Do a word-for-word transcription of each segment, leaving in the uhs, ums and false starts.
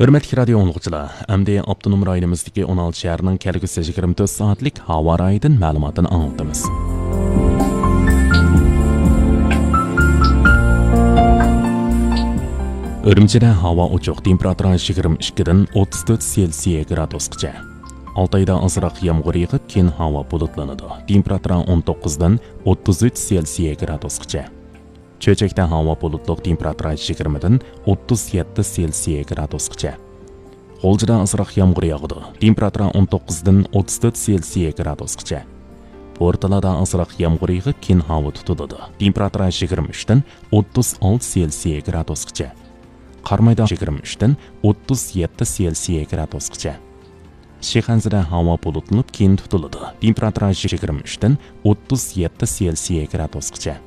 ھۆرمەتلىك رادىيو ئاڭلىغۇچىلار، ئەمدى ئاپتونوم رايونىمىزدىكى ئون ئالتە شەھەرنىڭ كەلگۈسى يىگىرمە تۆت سائەتلىك ھاۋا رايىدىن مەلۇماتنى ئاڭلىتىمىز. ئۈرۈمچىدە ھاۋا ئوچۇق، تېمپېراتۇرا يىگىرمە ئىككىدىن ئوتتۇز تۆت سېلسىيە گرادۇسقىچە. ئالتايدا ئازراق يامغۇر يېغىپ، كېيىن ھاۋا بۇلۇتلىنىدۇ. تېمپېراتۇرا ئون توققۇزدىن ئوتتۇز ئۈچ سېلسىيە گرادۇسقىچە. چۆچەكتە ھاۋا بۇلۇتلۇق، تېمپېراتۇرا يىگىرمىدىن ئوتتۇز يەتتە سېلسىيە گرادۇسقىچە. غۇلجىدا ئازراق يامغۇر ياغىدۇ. تېمپېراتۇرا ئون توققۇزدىن ئوتتۇز تۆت سېلسىيە گرادۇسقىچە. بورتالادا ئازراق يامغۇر يېغىپ، كېيىن ھاۋا تۇتۇلىدۇ. تېمپېراتۇرا يىگىرمە ئۈچتىن ئوتتۇز ئالتە سېلسىيە گرادۇسقىچە. قارامايدا يىگىرمە ئۈچتىن ئوتتۇز يەتتە سېلسىيە گرادۇسقىچە. شىخەنزىدە ھاۋا بۇلۇتلىنىپ، كېيىن تۇتۇلىدۇ. تېمپېراتۇرا يىگىرمە ئۈچتىن ئوتتۇز يەتتە سېلسىيە گرادۇسقىچە.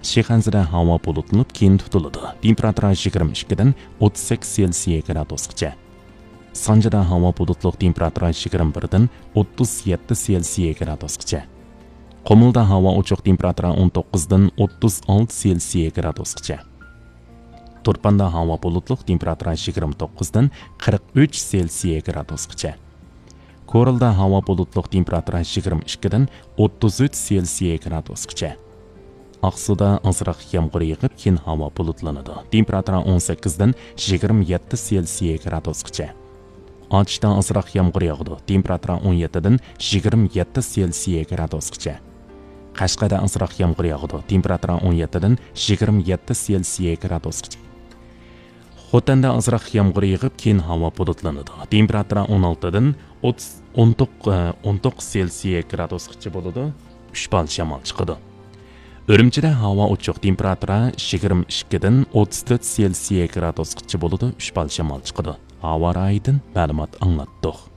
شىخەنزىدە ھاۋا بۇلۇتلىنىپ، كېيىن تۇتۇلىدۇ. تېمپېراتۇرا يىگىرمە ئىككىدىن ئوتتۇز سەككىز سېلسىيە گرادۇسقىچە. سانجىدا ھاۋا بۇلۇتلۇق، تېمپېراتۇرا يىگىرمە بىردىن ئوتتۇز يەتتە سېلسىيە گرادۇسقىچە. قۇمۇلدا ھاۋا ئوچۇق، تېمپېراتۇرا ئون توققۇزدىن ئوتتۇز ئالتە سېلسىيە گرادۇسقىچە. تۇرپاندا ھاۋا بۇلۇتلۇق، تېمپېراتۇرا يىگىرمە توققۇزدىن قىرىق ئۈچ سېلسىيە گرادۇسقىچە. كورلىدا ھاۋا بۇلۇتلۇق، تېمپېراتۇرا يىگىرمە ئىككىدىن ئوتتۇز ئۈچ سېلسىيە گرادۇسقىچە. ئاقسۇدا ئازراق يامغۇر يېغىپ، كېيىن ھاۋا بۇلۇتلىنىدۇ. تېمپېراتۇرا ئون سەككىزدىن يىگىرمە يەتتە سېلسىيە گرادۇسقىچە. ئاتۇشتا ئازراق يامغۇر ياغىدۇ. تېمپېراتۇرا ئون يەتتىدىن يىگىرمە يەتتە سېلسىيە گرادۇسقىچە. قەشقەردە ئازراق يامغۇر ياغىدۇ. تېمپېراتۇرا ئون يەتتىدىن يىگىرمە يەتتە سېلسىيە گرادۇسقىچە. خوتەندە ئازراق يامغۇر يېغىپ، كېيىن ھاۋا بۇلۇتلىنىدۇ. تېمپېراتۇرا ئون ئالتىدىن ئوتتۇز، ئون توققۇز، ئون توققۇز سېلسىيە گرادۇسقىچە بولىدۇ. ئۈچ بال شامال چىقىدۇ. ئۈرۈمچىدە ھاۋا ئوچۇق، تېمپېراتۇرا يىگىرمە ئىككىدىن ئوتتۇز تۆت سېلسىيە گرادۇسقىچە بولىدۇ. ئۈچ بال شامال چىقىدۇ. ھاۋا رايىدىن مەلۇمات ئاڭلاتتۇق.